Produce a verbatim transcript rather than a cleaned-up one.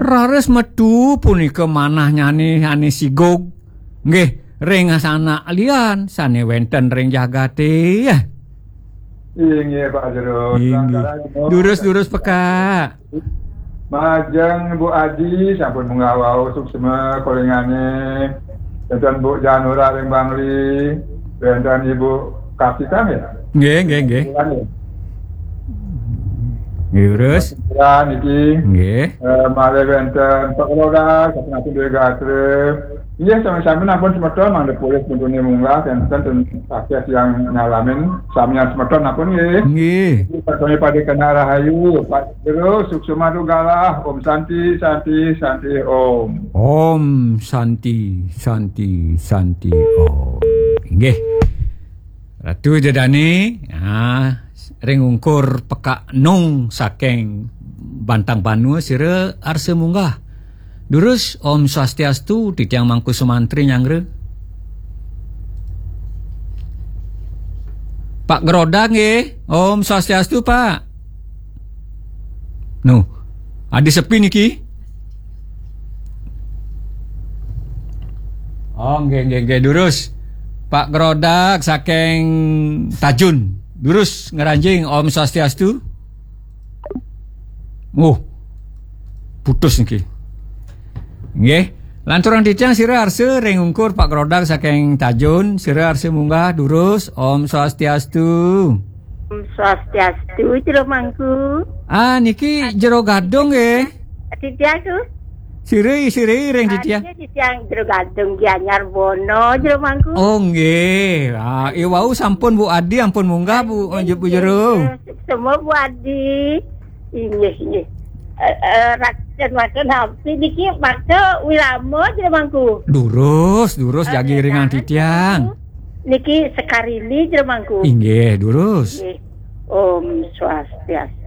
Raris metu punika manahnyané ané sigug. Nggih, ring asanak lian sané wénten ring jagaté. Inggih, Pak Jero. Inggih. Durus-durus pekak. Majeng Bu Adi sampun munggah wau, suksma kolingané. Wénten Bu Janura ring Bangli, wénten Ibu Kartika nggih? Nggih, nggih, nggih. Nggih, terus? Niki. Nggih. Eh, malih wénten Pak Lurah, sampun ampun duwé gatra. Nggih, sami-sami nampun semeton, mangda polih puntuné munggah, ten ten akeh yang nyalamin, samian semeton nampun nggih. Nggih. Sami pada kena rahayu, Pak Jero, suksma dugalah, Om Santi, Santi, Santi, Om. Om Santi, Santi, Santi, Om. Nggih. Ratu Ida Dané, ah, ring ungkur pekak nung saking Bantang Banua sira arsa munggah. Durus, Om Swastiastu, titiang Mangku Sumantri nyanggra. Pak Grodag nggih, Om Swastiastu, Pak. Nu, adi sepi niki. Oh, nggih, nggih, nggih, durus. Pak Grodag saking Tajun. Durus ngranjing, Om Swastiastu. Oh, putus niki. Nggih. Lanturang titiang sira arsa ring ungkur Pak Grodag saking Tajun, sira arsa munggah durus, Om Swastiastu. Om Swastiastu, Jero Mangku. Ah, niki Jero Gadung nggih. Titiang tu. Sira, sira ring titiang. Titiang Jero Gadung Gianyar Bono, Jero Mangku. Oh nggih. Ah, iwau sampun Bu Adi ampun munggah Bu, Bu Jero. Semua Bu Adi. Inggih, inggih. Eh, eh, rakyat mata napi niki maksa wilama Jero Mangku. Durus, durus jagi ringan titiang. Niki Sekarini Jero Mangku. Inggih, durus. Inggih. Om Swastiastu.